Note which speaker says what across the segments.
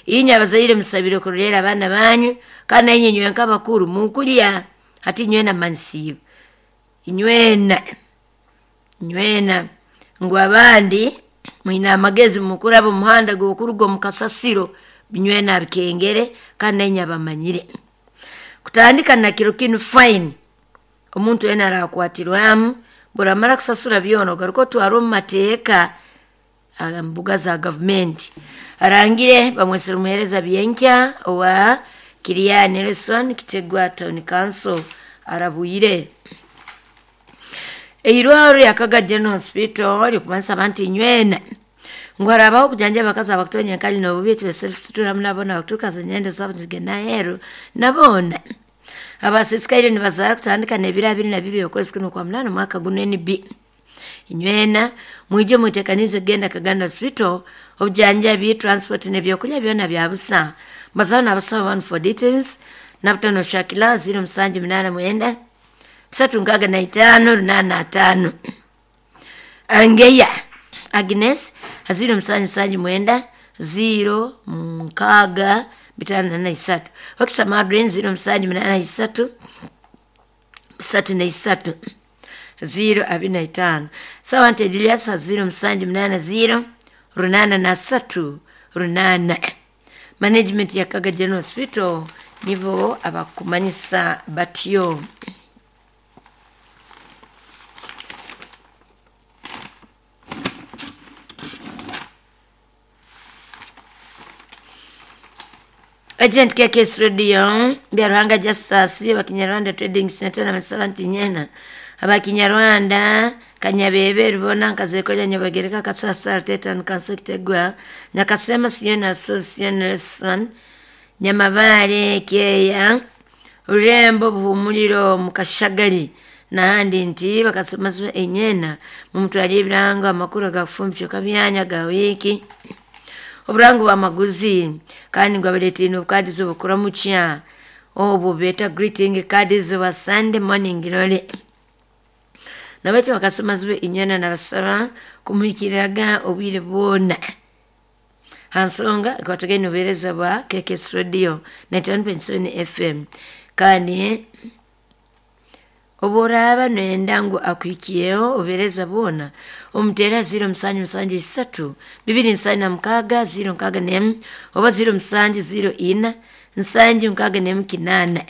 Speaker 1: Inywe abazaire musabire kurorera abaana banyu kandi nainywe inywe nk'abakuru mukulya hati inywena mmanisiibwe inywena inywena ngu abandi mwine amagezi mukuraba omuhanda gw'okuruga omu kasasiro inywena abikengere kandi nainywe abamanyire. Kutandika na kiro kinu fine omuntu weena arakwatirwamu obu kusasura byona ogaruke otwarwe omu mateeka mbuga za gavumenti. Arangire bamwesere omuheereza Byenkya owa Kiriya Nelson Kitegwa Town Council arabwire. Eirwariro rya Kaga General Hospital rikumanisa abantu inywena ngu harabaho okujanjaba abakazi abakutonya enkali n'obubi tibesituramu nabo nabakuturuka nyenda zaabo nizigenda aheeru naboona. Abasisikaire nibazaara kutandika n'ebiro 22 okwezi kunu okwa munaana omwaka gunu NB. Inywena mwije mwetekanize kugenda Kaganda Hospital obujanjabi, transport n'ebyokulya byona bya busa. Mbazaho n'abasawo banu for details Nabutano Shakila 0789 365 85. Angeya Agnes 0779 0 6 53. Okisa Madrine 0783 33 0 25. Sawante Julius 0780 83 8. Management ya Kaga General Hospital nibo abakumanyisa batyo. Agent KKS Radio Byaruhanga Justus wa Kinyarwanda Trading Center na Masalanti Nyena abakinyarwanda Kanyabebe Rubona Nkazekoja Nyabagereka Kasasa Teta Nkanso Kitegwa Nyakasema Siena Association Nyamabale Keya Rurembo Buhumuliro Mukashagali n'ahandi nti bakasoma enyena mumutwalire ebirango amakuru agakufumbisha kabyanya ga wiiki oburango bw'amaguzi kandi ngu abareeteire n'obukaadi obukuramukya obwo beeta greeting cards bwa Sunday morning glory. Nabakyo bakasoma zibe inywena nabasaba kumuhikiriraga obwire bwona. Ha nsonga ekwatagaine obuheereza bwa KKS Radio 91.7 FM kandi obu oraaba noyenda ngu akuhikireho obuheereza bwona omuteera 0773 276 061 oba 0704 761 8.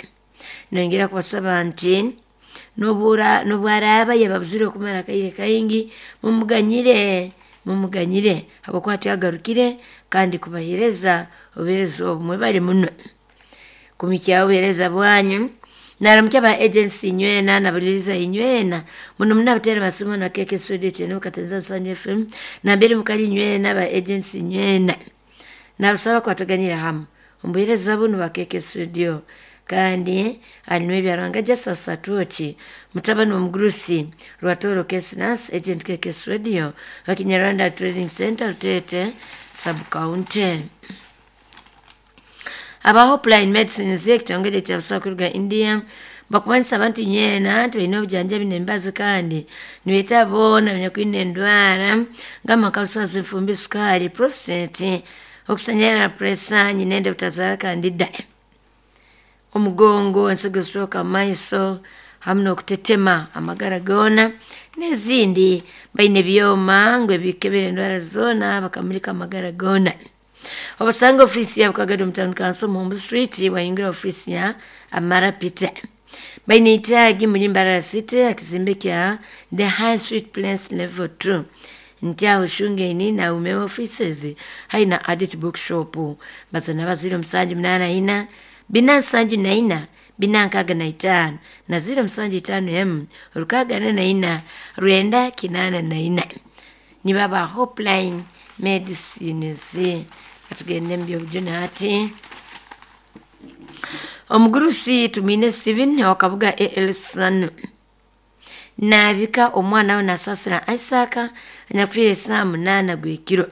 Speaker 1: Nongera kubasaba nti n'obu araaba yababuzire okumara akaire kaingi mumuganyire mumuganyire habwokuba tiagarukire kandi kubaheereza obuheereza obu mwebale muno kumihikyaho obuheereza bwanyu. Naramukya ba agency inywena nabuliriza inywena muno muno abateera basimu na KKS Radio tene Katenza Nsanyu FM nambere mukali inywena ba agency inywena nabasaba kwataganira hamu omubuheereza bunu bwa KKS Radio kandi harimu Ebyaruhanga Justus Atwoki mutabani w'omugurusi Rwatoro Kesnas agent KKS Radio wa Kinyarwanda Trading Center Rutete sub county. Aba Hopeline Medicines ekitongole ekyabusawo kuruga India bakumanyisa abantu inywena nti baine obujanjabi n'emibazi kandi nibeeta boona abanyakwine endwara ng'amakalusazi, enfumbi, sukaali, prostate, okusanyarara, pureesa, nyinende butazaara kandida, omugongo, ensigo zitooka mu maiso hamu n'okutetema amagara goona n'ezindi. Baine ebyoma ngu ebikebera endwara zoona bakamurika amagara goona. Obasanga ofiisi yaabo Kagadi omu Town Council Muhumbu Street wayingira ofiisi ya Amara Peter. Baine itaagi muri Mbarara City akizimbe kya The High Street Place Level 2 nti aho Shungeini na Umewe offices haina Adit Bookshop bazana ba 0784 474 465 na 075 M 644 984 nibaba Hopeline Medicines. Atugende mu byobujune hati. Omugurusi Tumwine Steven wa Kabuga AL Sanu naabika omwana we Nasasira Isaac anyakufiire esaaha 8 gw'ekiro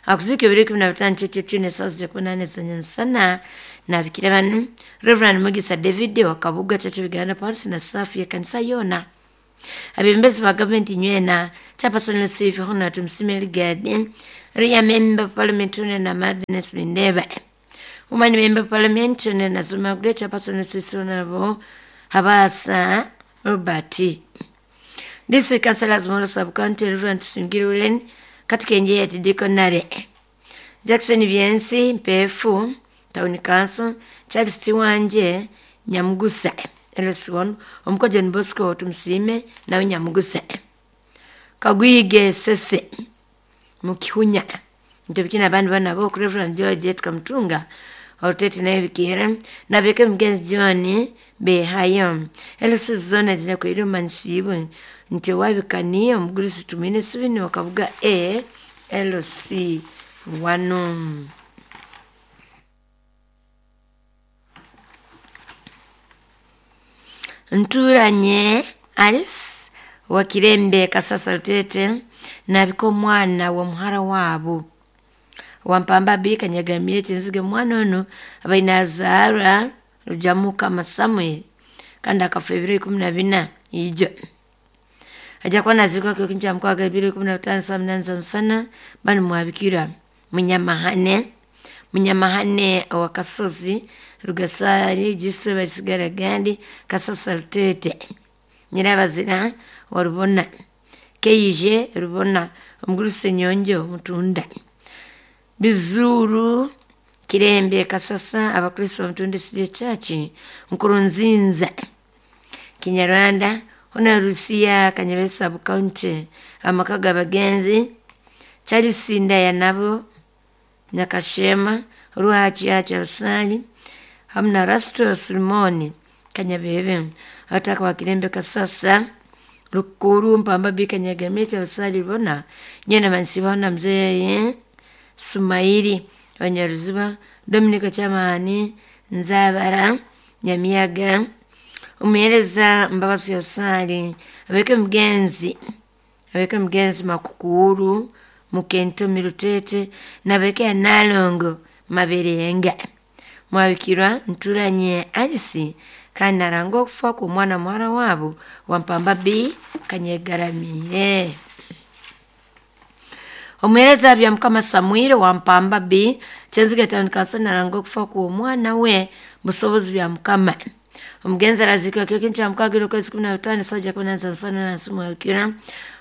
Speaker 1: akuziika ebiro 15 kyekyo n'esaaha 18 z'enyamusana naabikira banu Reverend Mugisa David wa Kabuga Church of Uganda Parish na saafu y'ekanisa yoona. Abebembezi ba gavumenti nywena Chairperson Lusifi Hon Tumusiime Ligadi Ria Member of Parliament Hon na Madness Bindeba Woman Member of Parliament Hon na Zuma Great Chairperson Lusifi Honorable Habasa Robert District Councillors Moro Sub-County Reverend Singiriulen Katikenje ya Dikonare Jackson Byensi Mpefu Town Council Charles Tiwanje Nyamugusa LS1 Omuko John Bosco Tumusiime nawe Nyamugusa Kagwige Sese Mukihunya Ntebikina abandi bana bo Reverend George Tukamutunga Olutete naye bikira nabeke mugenzi John Behayo LC zona zinakwiri mansibu nti wabikaniye omugurisi tumine sibini wakabuga A LC 1. Nturanye Alice wa Kirembe Kasasa Rutete nabika omwana wa muhara waabo Wampamba B Kanyagamire Kyenzige omwana ono abaine azaarwa Rujamukama Samuel kandi akafa ebiro 14 ijo. Aja kuba naziikwa kiro kya ebiro 15 saa 8 za nsana banu mwabikira Munyamahane Munyamahane owa Kasozi Rugasari Giso Basigara Gandi Kasasa Rutete Nyirabazira wa Rubona Keije Rubona Omuguruse Nyonjo Mutunda Bizuru Kirembe Kasasa Abakristo Mutunda City Church Nkurunzinza Kinyarwanda Hona Rusiya Kanyabesa Sub County amaka g'abagenzi Charles Ndaya nabo Nyakashema Ruhachi Kyabusali hamu na Rasto Simoni Kanyabebe abataka ba Kirembe Kasasa Rukuru Mpamba B Kanyagamire Kyabusali Rubona Nyena Mansibaho na Mzee Sumaili Abanyaruziba Dominic Kyamani Nzabara Nyamiyaga Omuheereza Mbabazi Kyabusali abeke mugenzi Makukuru Mukentomi Rutete nabeke ya Nalongo Maberenga Mwabikirwa Nturanye Alice kandi naranga okufa kw'omwana muhara waabo Wampamba B Kanyegaramire. Omuheereza bya Mukama Samuel Wampamba B Kyenzige Town Council naranga okufa kw'omwana we Busobozi bya Mukama. Omugenzi araziikwa kiro kya mukaaga okwezi 15 sajja 18 nsana na nsi mwabikirwa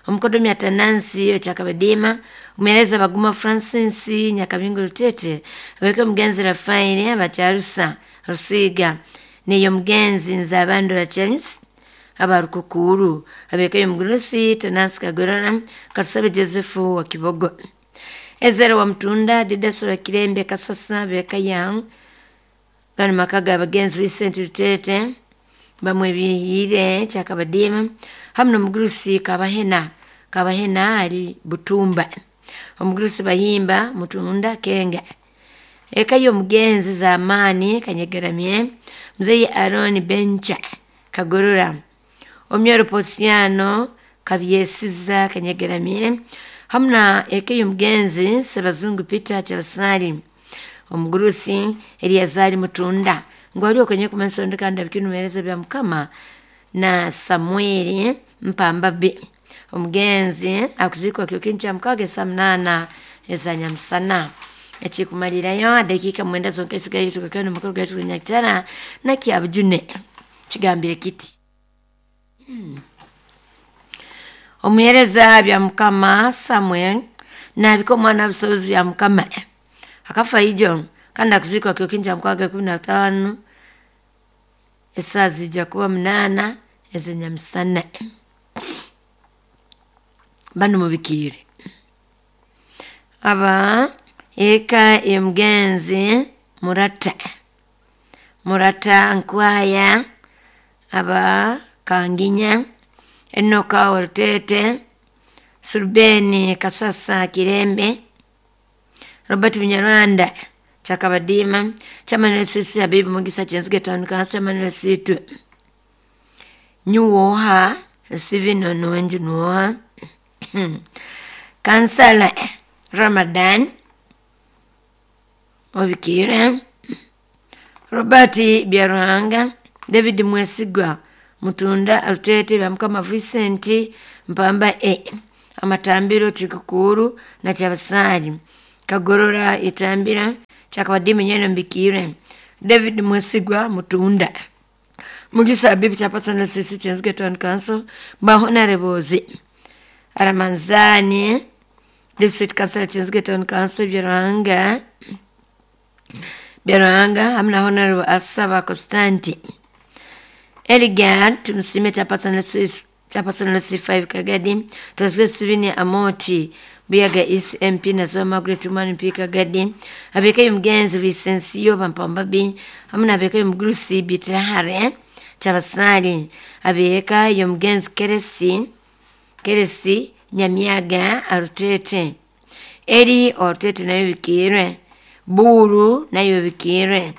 Speaker 1: Omukodomi Atanansi Okyakabadiima Omuheereza Baguma Francis Nyakabingo Rutete abeke omugenzi Rafaeli Abakyarusa Rusiga neyo omugenzi Nzabandura Charles Abarukukuru abeke omugurusi Tanansi Kagorora Katusabe Joseph wa Kibogo Ezera wa Mutunda Didaso wa Kirembe Kasasa beka yang gano maka g'abagenzi Vincent Rutete bamwebihiire Kyakabadiima hamu n'omugurusi Kabahena Kabahena ali Butumba omugurusi Bahimba Mutunda Kenga eka y'omugenzi Zamani Kanyegaramye Mzee Aaron Bencha Kagorora Omyoro Posiano Kabyesiza Kanyegaramye hamu na eka y'omugenzi Sebazungu Peter Kyabasali omugurusi Eliazari Mutunda ngu ali okonye kumansonda kandi abikinu bya Mukama na Samueli Mpamba B omugenzi akuzikwa kiro kya mukaaga saa 8 ezanyamusana. Ekikumalirayo dakika 9 zonka esigaire tukakana omukoro gwaitu Nyakitara na Kyabujune kigambire kiti. Omuheereza bya Mukama Samuel nabika omwana busobozi bya Mukama akafa ijo kandi akuzikwa kiro kya mukaaga 15 esaa zijja kuba 8 ez'enyamusana. Banu mubikiire aba eka y'omugenzi Murata Murata Nkwaya aba Kanginya Enoka Orutete Surubeni Kasasa Kirembe Robert Munyarwanda Kyakabadiima Chairman Sisi Habibu Mugisa Kyenzige Town Council Chairman Situ Nyuwoha Steven Ononji Nuwoha Kansala Ramadan Obikira Robert Byaruhanga David Mwesigwa Mutunda Rutete Byamukama Vincent Mpamba A Amatambiro Chikukuru na Chabasari Kagorora Itambira Chakabadimi Nyeno Mbikire David Mwesigwa Mutunda Mugisa Bibi Chapatana Sisi Chenzige Town Council Bahonarebozi Aramanzani District Council Chenzige Town Council Byaruhanga Byaruhanga hamwe na Honorable Asaba Constanti Eligad Tumusime Chapatana Sisi Chapatana C5 Kagadi Tazwe Sivini Amoti Buyaga East MP na Margaret Umani MP Kagadi abekayo mugenzi Vicencio Bampambabi hamwe nabekayo mugurusi Bitrahare Chabasali abeka yo mugenzi Keresi Keresi Nyamiaga Arutete Eri Orutete nayo bikirwe Buru nayo bikirwe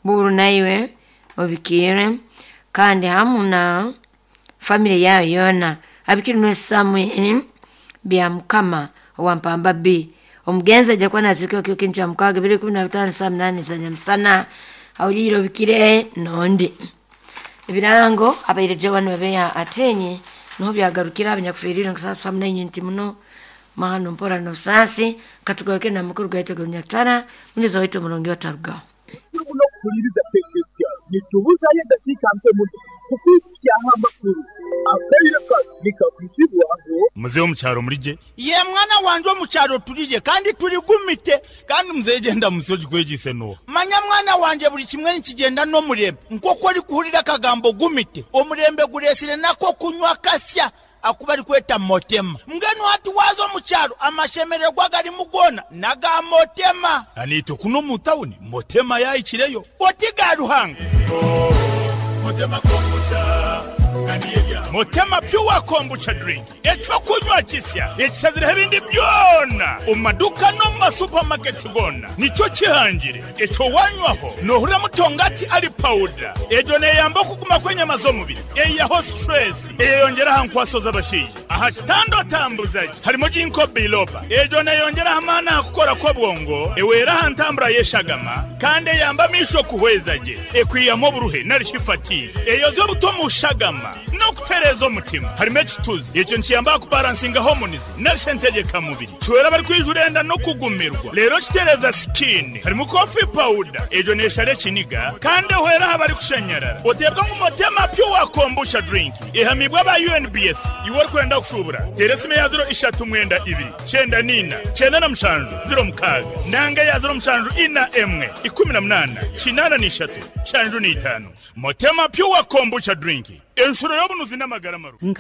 Speaker 1: Buru nayo obikirwe kandi hamwe na family yayo yona abikirwe Samuel bya mukama owa Mpamba B omugenzi ajja kuba nazirikeo kyo kintu kya mukaaga 2015 saa 8 za nyamusana awulire obikire nondi ebirango abaire jawani babeya atenye niho byagarukira abanyakufiirire nka saa saa munanyi nti muno mahano mpora nobusaasi katugaruke na mukuru gwaitu Nyakatara munyeza waitu omurungi otarugaho
Speaker 2: Nokuhuliriza tekinisiya nitubuzayo eddakiika nto muno kukwikyaho amakuru akaire kano nikakuzibwaho
Speaker 3: Muzehe omukyaro murije
Speaker 4: ye mwana wanje omukyaro turije kandi turigumite
Speaker 3: kandi muzehe genda musoji kwegise no
Speaker 4: manya mwana wanje buli kimwe nikigenda n'omurembe nk'oku orikuhurira akagambo gumite omurembe guresire nako kunywa kasya akuba arikweta motema mbwenu hati waza omukyaro amashemererwa garimu gona naga motema
Speaker 3: anite kuno mu tawuni motema yayikireyo
Speaker 4: oti ga ruhanga
Speaker 3: motema kombucha motema pure kombucha drink ekyokunywa kisya ekishazireho ebindi byona omu maduka no mu masupamaketi gona nikyo kihangire ekyo wanywaho nohurira mutongati ari pawuda egyo neyamba okuguma kw'enyama z'omubiri eyaho stress eyeyongera aha nkwaso z'abashaija aha kitanda otambuzaje harimo jinko biloba egyo neyongera amaani aha kukora kw'obwongo ewera aha ntambura y'eshagama kandi eyamba amisho kuhweza gye ekwiyamu oburuhe narishi fatigue eyoza obuto mu shagama n'okutereeza omutima harimo ekituzi ekyo nikiyamba kubaransinga hormones narishi entegekamubiri kiwera abari enda n'okugumirwa rero kitereeza sikini harimo coffee powder egyo neshara ekiniga kandi ehwera aha bari kushanyarara oteebwa ngu motema pure kombucha drink ehamibwa aba UNBS iwe orikwenda kushubura teera esimu ya 032 94 97 06 nanga ya 07 41 18 83 75 motema pure kombucha drink enshuro y'obunuzi n'amagara maru.